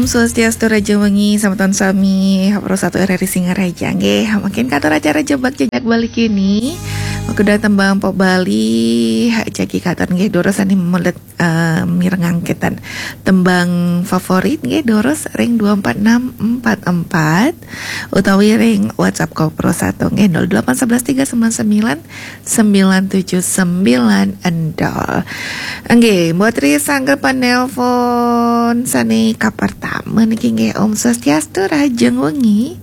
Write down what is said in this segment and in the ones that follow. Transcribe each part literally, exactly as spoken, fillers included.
Swastiastu, rahajeng wengi, semeton sami, Pro Satu R R I Singaraja nggih. Mangkin katur acara Jebak Jejak Bali kini. Mangkin tembang pop Bali, jagi katur nggih, durus sane melet, eh, mireng angketan tembang favorit nggih, durus ring dua empat enam empat empat utawi ring WhatsApp Kopro Satu nggih, nol delapan sebelas tiga sembilan sembilan sembilan tujuh sembilan nol. Nggih, Mbok Tri sanggepan nelpon sane kapertama niki nggih. Om Swastiastu, rahajeng wengi.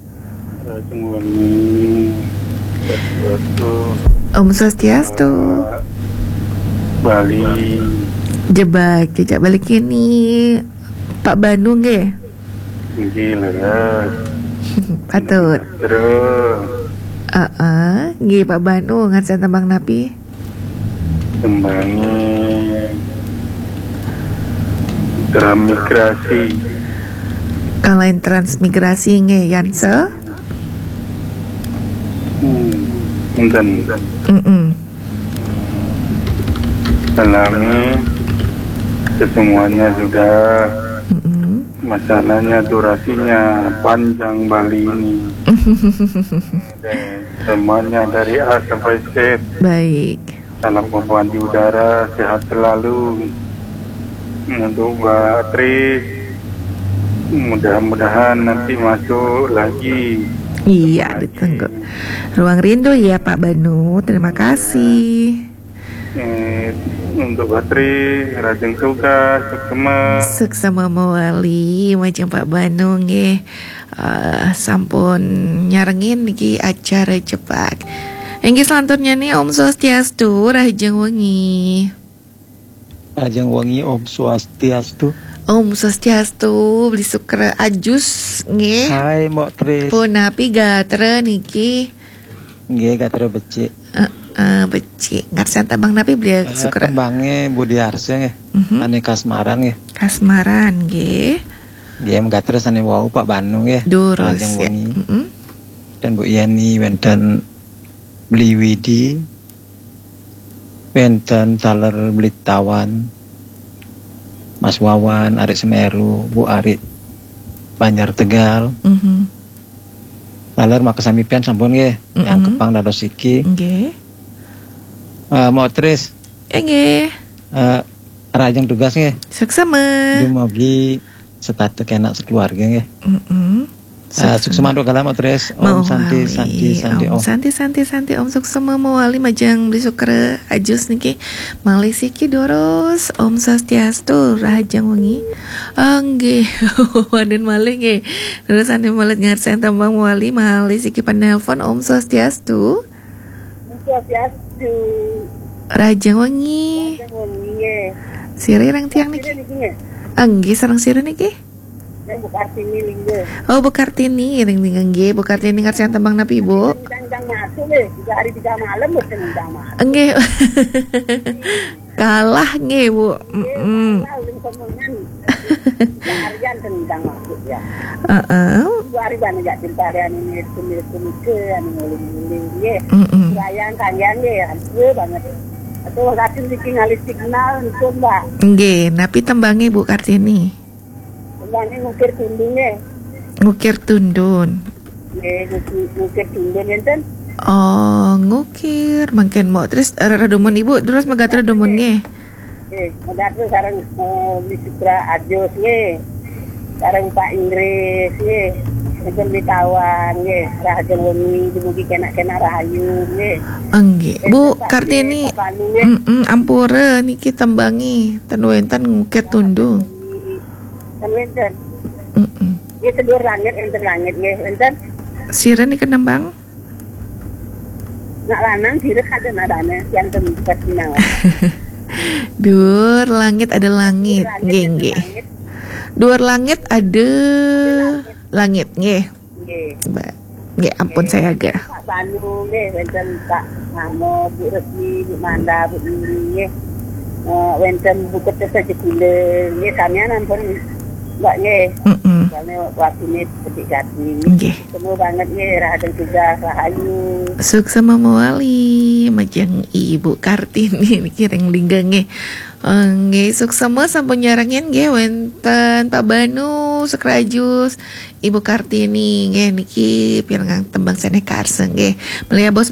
Rahajeng wengi. Swastiastu. Om Swastiastu. Bali. Jebak Jejak Bali kini, Pak Banu nggih. Nggih, leres. Patut. Terus. Heeh, nggih Pak Banu, ngarsan tembang napi? Tembange transmigrasi. Kalain transmigrasi nggih, Yanse? Hmm, enten. Mm-mm. Dalamnya semuanya sudah. Mm-mm. Masalahnya durasinya panjang Bali ini. Dan semuanya dari A sampai Z. Baik. Salam pembuanti udara, sehat selalu. Untuk Mbak Tri, mudah-mudahan nanti masuk lagi. Iya, ditunggu. Ruang rindu ya Pak Banu, terima kasih. Eh, untuk Mbak Tri, rahajeng tugas, suksma. Suksma mawali, majeng Pak Banu nggih. Eh, sampun nyarengin niki acara Jebak. Inggih, selanjutnya nih, Om Swastiastu, rahajeng wengi. Rahajeng wengi, Om Swastiastu. Om Swastiastu, Bli Sukra Ajus nggih. Hai, Mbok Tri. Punapi gatra niki? Nggih, gatra becik. Heeh, becik. Ngarsan tembang napi, Bli Sukra? Tembange Budi Arse nggih. Mhm. Ane Kasmaran nggih. Kasmaran nggih. Nggih, gatra sane wau Pak Banu nggih. Durus, rahajeng wengi. Mm-mm. Dan Bu Yeni, wenten Bli Widi, wenten taler Bli Tawan, Mas Wawan, Arik Semeru, Bu Arik Banjar Tegal. Mhm. Taler makasami pian sampun nggih. Mm-mm. Yang kepang dados iki. Nggih. Eh, Mbok Tris. Inggih. Eh, rahajeng tugas nggih. Suksma. Dumugi setata kenak sekeluarga nggih. Mm-mm. Eh, suksma. Suksma antuk galah, Mbok Tris. Om Santi, Santi, Santi, Om. Om Santi, Santi, Santi, Om. Suksma mawali majeng Bli Sukra Ajus niki. Malih siki durus, Om Swastiastu, rahajeng wengi. Ah, nggih, wonten malih nggih. Durus sane malih ngarsan tembang mawali, malih siki penelpon, Om Swastiastu. Swastiastu. Rahajeng wengi. Rahajeng wengi, nggih. Sira ring tiang niki? Sira niki, nggih? Ah, nggih, sareng sira niki? Nggih, Bu Kartini Lingga. Oh, Bu Kartini, ring Lingga nggih. Bu Kartini ngarsan tembang napi, Bu? Tentang masuk, nggih. Tiga hari tiga malam, mboten tentang masuk. Nggih. Kalah nggih, Bu. Nggih, mm-mm. Kalah, ulun sombongan. Seharian tentang masuk ya. Heeh. Dua hari banyak jak timpalian ini, sumil-sumil ke, anu, nguling-nguling, nggih. Mm-mm. Sayang, sayang, nggih, ampun banget. Atau waktu niki ngalih signal, niku, Mbak. Nggih, napi tembange, Bu Kartini? Tembange Ngukir Tundun, nggih. Ngukir Tundun. Nggih, Ngukir, Ngukir Tundun, enten. Oh, Ngukir. Mangkin mau terus, eh, redumun Ibu, terus megat redumun, nggih. Nggih, megat terus sareng, eh, Bli Sukra Ajus, nggih. Sareng Pak Inggris, nggih. Enten Bli Tawan, nggih. Rahajeng wengi, dumugi kenak-kenak rahayu, nggih. Nggih. Enten Bu Pak Kartini, Dek, Pak Pandu, nggih. Mm-mm, ampura niki tembangi, ten wenten Ngukir Tundun. Ten wenten. Mm-mm. Nggih, sedur langit, enten langit, nggih. Enten. Sira niki nembang? Nak lanang sira kada nadane, yang tempat sinau. Duur langit ada langit, nggih, nggih. Duur langit ada langit, nggih. Nggih. Mbak, nggih, ampun saya agak. Pak Banu, nggih, wenten Pak Mahmud, Bu Resmi, Bu Manda, Bu Yuli, nggih. Eh, wenten Bu Kertas aja kula, nggih, samian ampun, Mbak, nggih. Mm-mm. Soalnya waktunya seperti gati. Nggih. Semua banget, nggih, rahajeng tugas, rahayu. Suksma mawali, majeng Ibu Kartini niki ring Lingga, nggih. Nggih, suksema sampun nyarengin nggih wenten Pak Banu Sekrajus, Ibu Kartini nggih niki pirengang tembang Sene Karsa nggih. Melihat bos-bos